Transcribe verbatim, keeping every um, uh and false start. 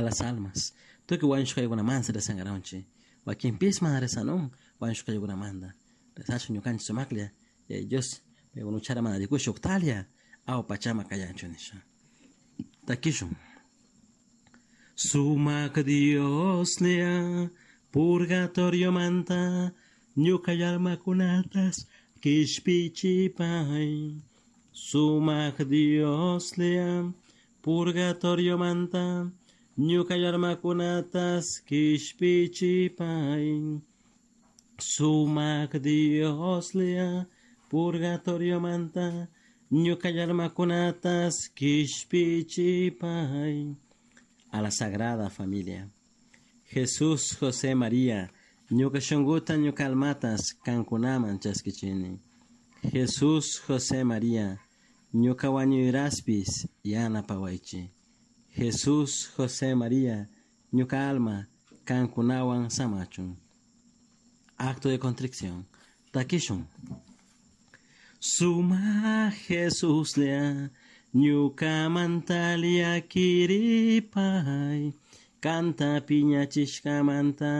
las almas. Tukuy wañushkaykunamanta rezankaranchik. Wakinpis mana rezanun wañushkaykunamanta. Rezachun ñukanchik sumaklla Yaya Dios paykuna uchara mana rikushpa uktalla awa pachama kayanchun nisha. Takishun. Sumak Dioslla purgatoriomanta ñuka almakunatas kishpichipay. Sumak Dioslla purgatoriomanta ñuka almakunatas kishpichipay. Sumak Dioslla purgatoriomanta ñuka almakunatas kishpichipay. A la Sagrada Familia. Jesús, José, María, ñuka shunkuta ñuka almatas kankunaman chaskichini. Jesús, José, María, ñuka wañuyraspis yanapawaychik. Jesús, José, María, ñuka alma kankunawan samachun. Acto de contrición. Takishun. Suma Jesuslla ñukamanta llaquiripay kanta piñachishkamanta.